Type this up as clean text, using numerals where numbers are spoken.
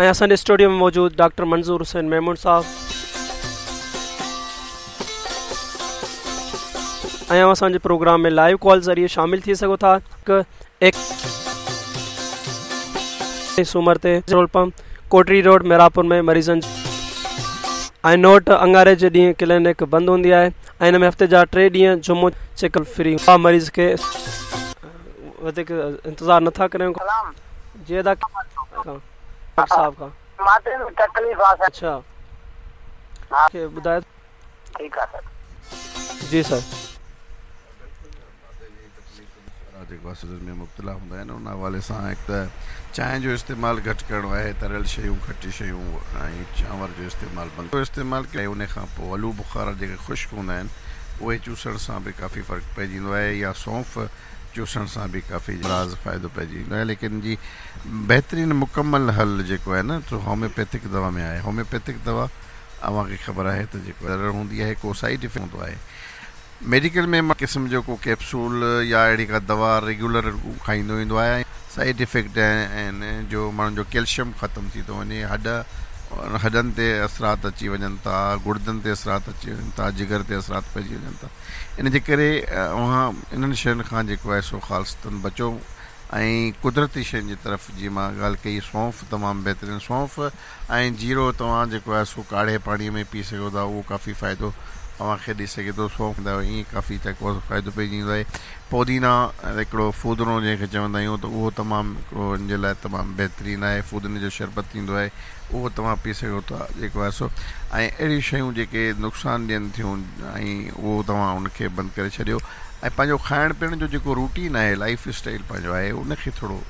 ۽ اسان جي اسٽوڊيو ۾ موجود ڊاڪٽر منظور حسين ميمڻ صاحب ۽ اوهان اسان جي پروگرام ۾ لائيو ڪال ذريعي شامل ٿي سگهو ٿا هڪ سومر تي petrol pump Kotri road Mehrabpur ۾ مريضن ۽ نوٽ اڱاري جي ڏينهن ڪلينڪ بند هوندي آهي ۽ ان ۾ هفتي جا ٽي ڏينهن جمعو چيڪ فري مريض کي وڌيڪ انتظار نٿا ڪريون جي ادا ڊاڪٽر صاحب کان ماٿي ۾ تڪليف آ سر. اڇا کي ٻڌايو. ٺيڪ آ سر. جي سر. جيڪو آ ۾ مبتلا هوندا آهن ان حوالي سان هڪ ته چانهه جو استعمال گهٽ ڪرڻو آهي تريل شيون کٽي شيون ۽ چانور جو استعمال بند استعمال ڪيو ان کان پوء آلو بخارا جيڪي خشڪ هوندا آهن اهي چوسڻ سان به ڪافي فرق پئجي ويندو آهي يا سونف چوسڻ سان به ڪافي راز فائدو پئجي ويندو آهي ليڪن جي بهترين مڪمل حل جيڪو آهي نه سو هوميوپيٿڪ دوا ۾ آهي هوميوپيٿڪ دوا اوهان کي خبر آهي ته جيڪو ضرر هوندي آهي ڪو سائيڊ افيڪٽ هوندو آهي ميڊيڪل ۾ قسم جو ڪو ڪيپسول يا اهڙي ڪا دوا ريگيولر کائيندو ويندو آهي ۽ سائيڊ افيڪٽ آهن جو ماڻهن جو ڪيلشم ختم ٿي ٿو وڃي هڏ هڏن تي اثرات اچي وڃن ٿا گڙدن تي اثرات اچي وڃن ٿا جگر تي اثرات پئجي وڃن ٿا ان جي ڪري اوهان انهن شين کان جيڪو آهي سو خالصتاً بچو ۽ قدرتي شين جي طرف جيئن مان ڳالهه ڪئي سونف تمام بهترين سونف ۽ جيرو توهان جيڪو آهي سو ڪاڙهي پاڻي ۾ پي سگهو ٿا اهو ڪافي فائدو اوهان کي ڏئي سگهي ٿو سونف ائين ڪافي جيڪو آهي سو فائدو پئجي ويندو آهي پودينا هڪڙو ڦودنو جنهن کي چوندا آهيون ته اهو تمام هڪڙو ان جي لاء تمام بهترين آهي ڦودني جو شربت ٿيندو آهي اهو توهان پي سگهو ٿا جيڪو آهي سو ۽ اهڙيون شيون جيڪي نقصان ڏين ٿيون ۽ اهو توهان ان کي بند ڪري ڇڏيو ۽ پنهنجو کائڻ پيئڻ جو جيڪو روٽين آهي لائف اسٽائل پنهنجو آهي ان کي ٿورو